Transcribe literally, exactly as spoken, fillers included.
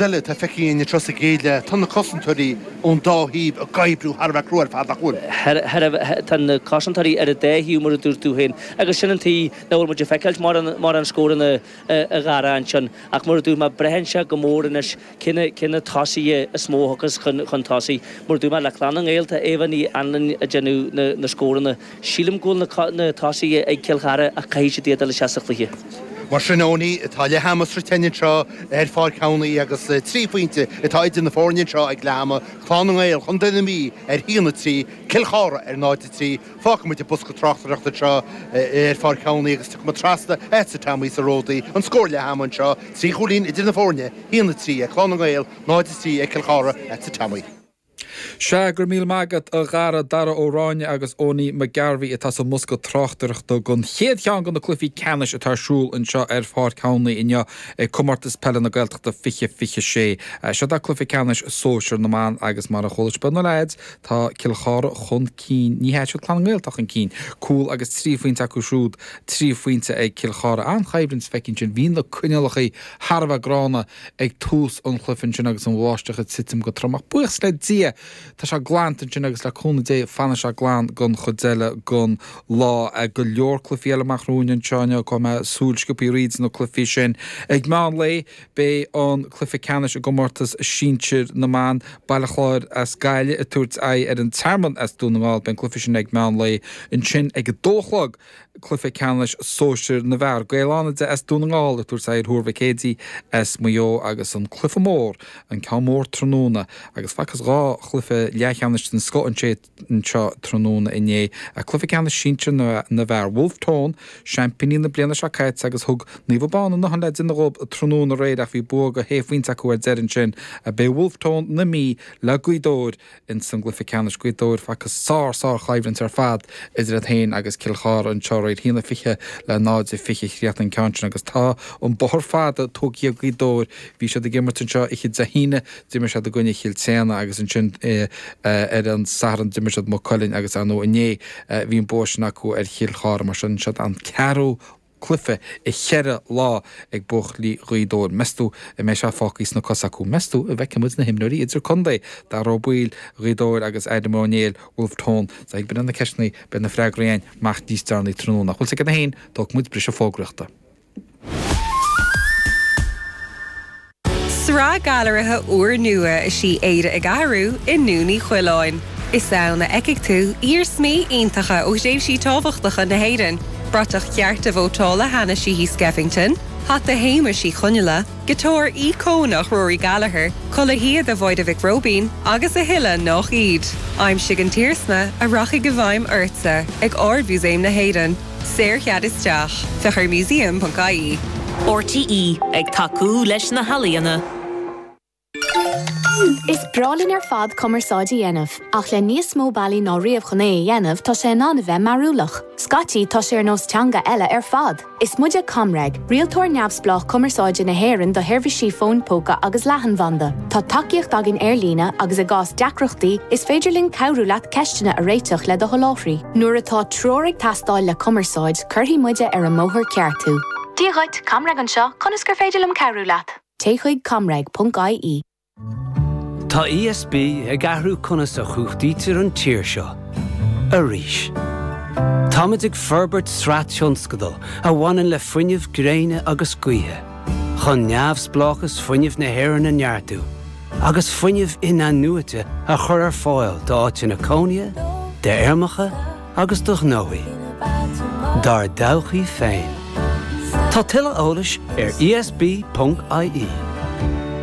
eile atá feicthe againn anseo sa gcéad leath, tá na cosantóirí ón dá thaobh ag oibriú thar a bheith crua ar fad, nach bhfuil? Tá na cosantóirí ar an dá thaobh mar a dúirt tú féin agus sin an tuige nach bhfuil muid ag feiceáilt mórán scóranna a Dhara ansin ach mar a dúirt mé braitheann sé go mór anois cé na tosaithe is mó a thiocfas chun tosaigh. Mar a dúirt mé le Clann na nGael tá Eva Ní Anluain ag déanamh na scóranna. Sílim go bhfuil na tosaithe ag Cill Chartha ach caithfidh siad iad a fháil isteach sa chluiche. Mar sin Owenie, tá leath ama sroichte againn anseo ar Pháirc Thamhnaí agus trí phointe atá idir na foirne anseo ag leath ama, Clann na nGael, Chontae na Mí ar a haon a trí, Cill Chartha ar náid a trí. Fágfaidh muid an bosca tráchtaireachta anseo ar Pháirc Thamhnaí agus tiocfaidh muid trasna agatsa Tommy sa Ródaí. An scór leath ama anseo, trí chúilín idir na foirne, haon a trí ag Clann na nGael, náid a trí ag Cill Chartha, agatsa Tommy. Sea, go raibh míle maith agat a Dhara, Dara Ó Ráinne agus Owenie McGarvey atá sa mbosca tráchtaireachta don chéad cheann de na cluichí ceannais atá ar siúl anseo ar Pháirc Thamhnaí inniu ag Comórtas Peile na Gaeltachta fiche fiche sé. Seo é cluiche ceannais sóisir na mban agus mar a chuala sibh ó na leaids, tá Cill Chartha chun cinn, ní hea, siad Clann na nGael atá chun cinn, cúl agus trí phointe acu siúd, trí phointe ag Cill Chartha. An-choimhlint feicthe ansin, bhí na coinníollacha thar a bheith gránna ag tús an chluiche ansin agus an bháisteach ag titim go trom ach buíochas le Dia tá sé glanta ansin agus le cúnamh Dé fanfaidh sé glan don chuid eile den lá. Go leor cluichí eile amach romhainn anseo inniu, coinneoidh mé súil sciobtha thríd na cluichí sin. Ag meán lae beidh an cluiche ceannais i gcomórtas sinsir na mban, Baile Chláir as Gaillimh ag tabhairt aghaidh ar an Tearmann as Dún na nGall. Beidh an cluiche sin ag meán lae. Ansin ag a dó a chlog, cluiche ceannais sóisir na bhfear, Gaeil Fhánada as Dún na nGall ag tabhairt aghaidh ar Thuar Mhic Éadaigh as Maigh Eo agus an cluiche mór, an ceann mór tráthnóna agus facthas dhá chluiche leathcheannais den scoth anseo tráthnóna inné. Cluiche ceannais sinsir na bhfear, Wolfe Tone, seaimpíní na bliana seo caite agus thug Naomh Abán a ndóthain le déanamh dhóibh tráthnóna aréir ach bhí bua de shé phointe acu ar deireadh ansin. Beidh Wolfe Tone na Mí le Gaoth Dobhair ins an gcluiche ceannais. Gaoth Dobhair, facthas sár sár choimhlint ar fad idir iad féin agus Cill Chartha anseo aréir. A haon a fiche le náid a fiche a chríochnaigh an ceann sin agus tá an bóthar fada tógtha ag Gaoth Dobhair. Bhí siad ag imirt anseo oíche Dé hAoine, d'imir siad i gcoinne Chill tSéadhna agus ansin ar an Satharn d'imir siad Maigh Cuilinn agus ar ndóigh inné bhí an bua sin acu ar Chill Chartha. Mar sin siod an ceathrú cluiche i cheithre lá ag buachaillí Ghaoth Dobhair. Meas tú an mbeidh sé fágtha sna cosa acu? Meas tú an bhfeicfidh muid na himreoirí idir-contae, Dara Ó Baoill, Ghaoth Dobhair agus Adam Ó Néill, Wolfe Tone? Sea, b'in iad na ceisteanna, beidh na freagraí againn amach níos deireanaí tráthnóna. Ach bhfuil 's agat féin, tógfaidh muid briseadh fógraíochta. Sraith gailearaithe úrnua is í Éire ag Athrú i nDún Uí Choileáin. Is ann a fheicfidh tú iarsmaí iontacha ó thréimhsí tábhachtacha na hÉireann, bratach chearta vótála Hanna Sheehy Skeffington, hata Shéamuis Uí Chonghaile, giotár íocónach Rory Gallagher, culaith shíoda Mháire Mhic Róibín agus a thuilleadh nach iad. Aimsigh an t-iarsma a rachaidh i bhfeidhm ortsa ag Ard-Mhúsaem na hÉireann. Saorchead isteach. Féach ar museum ponc ie. RTÉ, ag tacú leis na healaíona. Is breá linn ar fad cumarsáid a dhéanamh, ach le níos mó bealaí ná riamh chun é a dhéanamh, tá sé in ann a bheith mearúlach. Scaití, tá sé ar nós teanga eile ar fad. Is muide ComReg, rialtóir neamhspleách cumarsáide na hÉireann do sheirbhísí fóin póca agus leathanbhanda. Tá tacaíocht againn ar líne agus i gcás deacrachtaí, is féidir linn cabhrú leat ceisteanna a réiteach le do sholáthraí. Nuair atá treoir ag teastáil le cumarsáid, cuirfidh muide ar an mbóthar ceart thú. Dia dhuit, ComReg anseo, conas gur féidir liom cabhrú leat? Téigh chuig comreg ponc ie. Tá ESB ag athrú conas a chumhachtaítear an tír seo. Arís. Táimid ag forbairt sraith tionscadal a bhaineann le fuinneamh gréine agus gaoithe, chun neamhspleáchas fuinnimh na hÉireann a neartú agus fuinneamh in-athnuaite a chur ar fáil d'áiteanna cónaithe, d'fheirmeacha agus do ghnóthaí. Dár dtodhchaí féin. Tá tuilleadh eolais ar ESB.ie.